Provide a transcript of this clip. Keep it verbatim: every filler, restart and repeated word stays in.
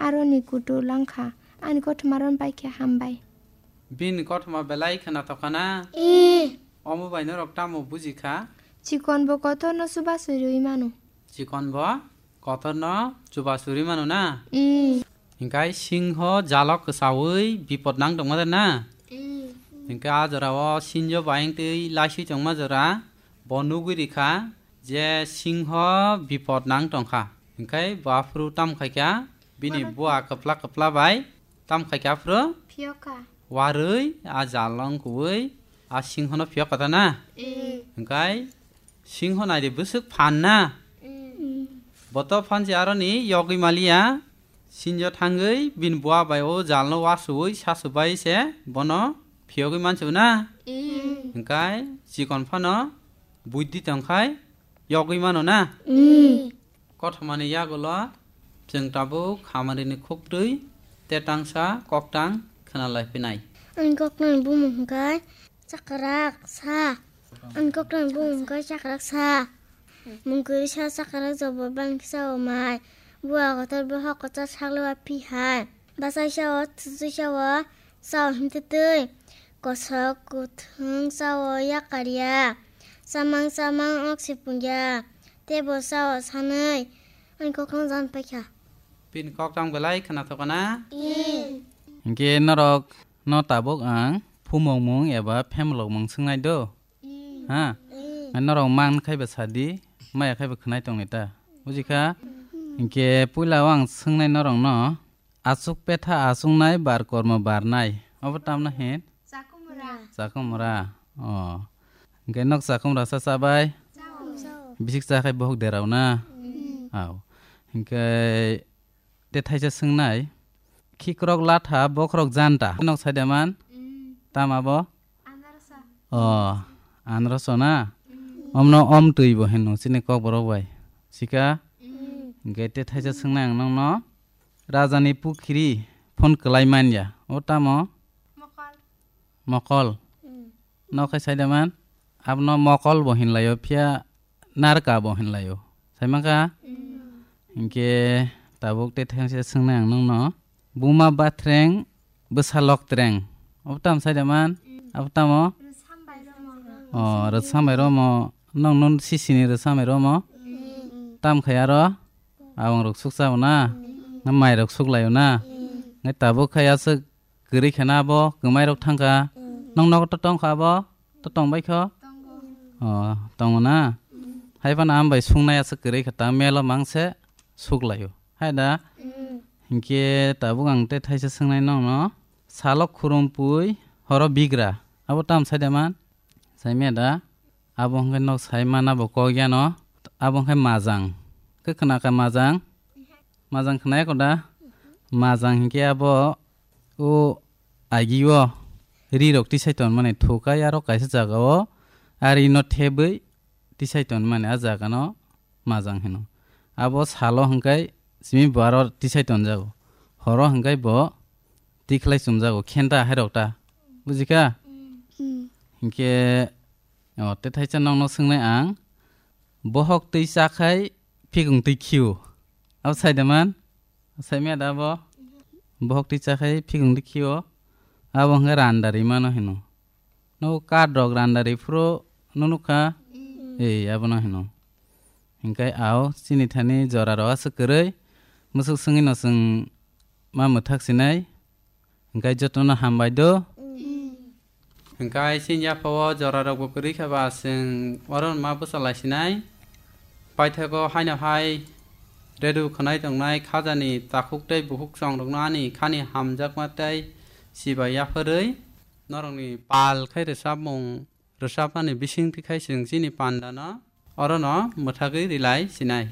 aroni kutu langkha. Ani kothoma ron pai khe hambai. Bini kothoma belai khwnathok kha na? Ee. Omo bai norok tamo buji kha? Chikon bo kotor no chuba suriui mano. Chikon bo kotor no chuba suri mano na? Ee. Hinkhe singho jalo kwsaui bipot nang tongma de na? Ee. Hinkhe a jora o sinjo bayeng twi laisui tongma jora bo nugui rikha je singho bipot nang tongkha. Hinkhe bo aphuru tam khaikha bini bua kwpla kwpla bai tam khaikha aphuru. Phiyoka. Warui a jalo wngkui a singhono phiyok kha ta na? Ee. Hinkhe singho naidi bwswk phan na? Ee. Boto phan se aroni yogwi maliya. Sinjo thangwi bini bua bai o jalno wasui sasu bai se bono phiyogwi mansu na? Ee. Hinkhe chikon phano buidhi tongkhai yogwi mano na? Ee. Kothomani yagulo chwng tabuk hamarini khuktwi tetangsa koktang khwnalai phinai. Ang koktang bumung hinkhe Chakrak sa. Ang koktang bumung khe chakrak sa. Mungkuri sa chakrak jobo bang sa o mai. Bua kotor bo hok kotor sakle wa pi hai. Basai sa o, tsusui sa o, sa o him twi twi. Kosok kuthung sa o yakar ya. Samang samang ok si pung ya. Tebo sa o sanai. Ang koktang jan paikha. Pin koktang belai khwnathok na? Hinkhe norok no tabuk ang phumokmung eba phemlokmung swngnai do? Ha? Norok man khai ba sadi, maya khai ba khwnai tongni ta. Buji kha? Hinkhe puila o ang swngnai norok no, achuk petha achuknai bar kormo barnai. Obo tamno hin? Chakumra. Chakumra. O. Hinkhe nok chakumra sa chabai? Bisik cha khai bohok derao na? Au. Hinkhe te thaisa swngnai, khikrok latha, bokhorok janta. Nok saida man? Tama bo? O, anroso na? Omno om twi bo hino, chini kok borok bai. Sika? Hinkhe te thaisa swngnai ang nokno, rajani pukhiri phone kwlai manya. O tamo? Mokol. Nok khai saida man? Abono mokol bo hinlaio, phiya narka bo hinlaio. Saimankha? Hinkhe tabuk te thengse swngnai ang nokno. Buma bathreng, bwsa loktreng. Abo tamo saida man? Abo tamo? O, rwchap bai romo. Nokno sisini rwchap bai romo. Tam khai aro? Abang rok sukcha o na? Na mai rok suklaio na? Ngai tabuk khai aswk kwrwi kheno abo kwmai rok thangkha. Nong nogo to tongkha abo? To tongbai kho? O, tongo na? Hai phano ang bai sungnai aswk kwrwi kha ta melo mangse suklaio. Hai da? Hinkhe tabuk ang tei thaisa swngnai nongno. Salo khurumpui, horo bigra. Abo tam saida man? Saimya da? Abo hwnkhe nok sai mana bo kok yano. Abo hwnkhe majang. Khe khna kha majang? Majang khna ya koda? Majang hinkhe abo o agi o ri rok tisai ton mani thukai aro kaisa jaga o a ri no thebwi tisai ton mani a jaga no majang hino. Abo salo hwnkhe simi bo aro tisai ton jago. Horo hwnkhe bo tikhlai chum jago khenta hai rok ta. Buji kha? Hinkhe O, tei thaisa nokno swngnai ang, bohok twi chakhai phikung twi khio. Abo saida man? Saimya da abo? Bohok twi chakhai phikung twi khio. Abo hwnkhe randa rimano hino. Nogo kath rok randa riphuru nukha? Ei, abono hino. Hinkhe ao chini thani jora rok aswk kwrwi, musuk swngwi no chwng ma mwthak sinai. Hinkhe jotono hambai do. Hinkhe chini yaphao jora rokbo kwrwi khe ba chwng oro ma bwsa lai sinai. Paithago haino hai redu khwnai tongnai khajani takhuk tei bukhuk chwng rokno ani khani hamjakma tei chibai yapharwi norokni pal khai rwchapmung rwchapmani bisingtwi khai chwng chini pandano orono mwthagwi rilai sinai.